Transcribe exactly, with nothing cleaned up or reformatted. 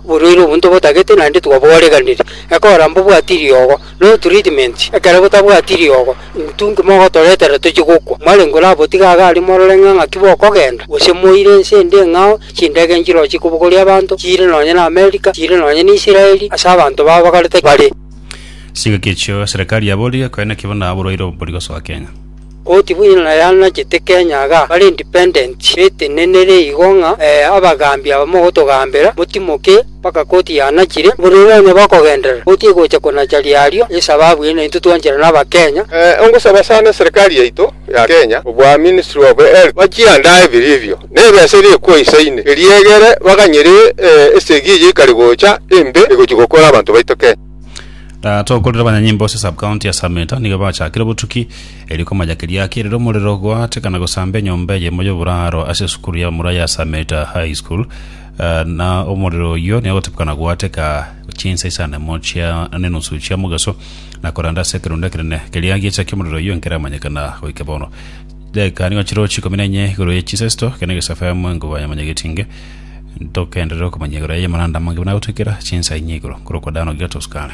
Oborwaire obwo ntobotagete naende twabwareganire. Ekora mbobwati riogo, no treatment, ekero botabwati riogo, intwe nki mogotoretera tochie gokwa. Mwarenge orabotiga iga aria morore ng'a ng'aki bokogenda, gose moire ense ende eng'ao, chindege nchiroo chikobogoria abanto, chiire nonye na America, chiire nonye na Israeli, ase abanto babagarete bare. Chingaki echio serikali yaborire koeneki buna oborwaire obo mbori gosoa Kenya. Koti buna yanachete Kenya iga, bare independent, betenenere igo ng'a abagambi aba mogotogambera, motimoke mpaka koti yanachire, borwaire onye bokogenderera, koti egocha konacha riario, esababu eye naintwe twancherana Abakenya. Ngosaba sana eserikali yaito ya Kenya kobua Ministry of Health bachiandae vilivyo na ebesa eria ekwoisaine eria egere baganyere esegi eye ekare gocha embe egochia gokora abanto baito Kenya. Na tokorire abanyanyimbo ase sub-county ya Sameta nigo bachakire obotuki erio komanya keria kerire omorero goateka na gosamba enyomba eyemo y'oboraro ase esukuru y'abamura ya Sameta High School. Eh, na omorero oyio nigo ogotebekana goateka chinsa isano emo chia nenusu chia mogaso na koranda ase ekerundo ekenene keria giachakia omorero oyio nkeramanyekana goika bono. Dakika nigo chirochio ikomi na inye igoro ye chinsa isito ekero negesafu FM enkuba ya Mwanyagetinge ntokenderere okomanya igoro ya amaranda amange buna agotwekera chinsa inye igoro korokwa Dano Gigato Sukari.